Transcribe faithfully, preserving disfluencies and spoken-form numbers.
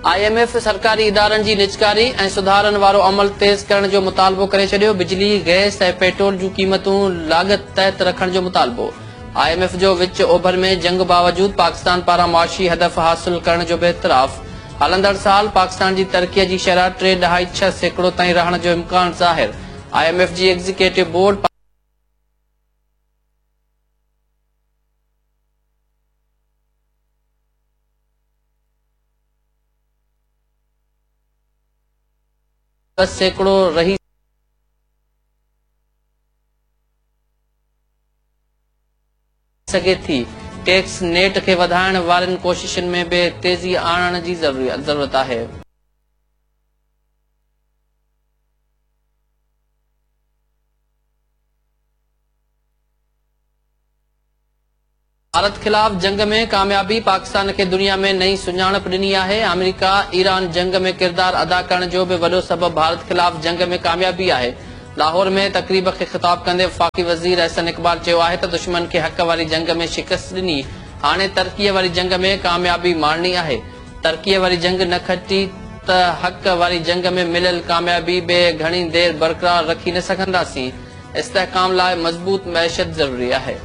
I M F سرڪاري ادارن جي نجڪاري ۽ سڌارن وارو عمل تيز ڪرڻ جو مطالبو ڪري ڇڏيو. بجلي، گئس ۽ پيٽرول جون قيمتون لاڳت تحت رکڻ جو مطالبو. I M F جو وچ اوڀر ۾ جنگ باوجود پاڪستان پاران معاشي هدف حاصل ڪرڻ جو به اعتراف. هلندڙ سال پاڪستان جي ترقي جي شرح ٽي ڏهائي ڇهه سيڪڙو تائين رهڻ جو امڪان ظاهر. I M F جي ايگزيڪيوٽو بورڊ ٻه سيڪڙو رهي سگهي ٿي. ٽيڪس نيٽ کي وڌائڻ وارين ڪوششن ۾ به تيزي آڻڻ جي ضرورت آهي. ڀارت خلاف جنگ ۾ ڪاميابي پاڪستان کي دنيا ۾ نئين سڃاڻپ ڏني آهي. آمريڪا ايران جنگ ۾ ڪردار ادا ڪرڻ جو به وڏو سبب ڀارت خلاف جنگ ۾ ڪاميابي آهي. لاهور ۾ تقريب کي خطاب ڪندي وفاقي وزير احسن اقبال چيو آهي ته دشمن کي حق واري جنگ ۾ شڪست ڏني، هاڻي ترقيء واري جنگ ۾ ڪاميابي ماڻڻي آهي. ترقيء واري جنگ نه کٽي ته حق واري جنگ ۾ مليل ڪاميابي به گهڻي دير برقرار رکي نه سگهنداسين. استحڪام لاء مضبوط معيشت ضروري آهي.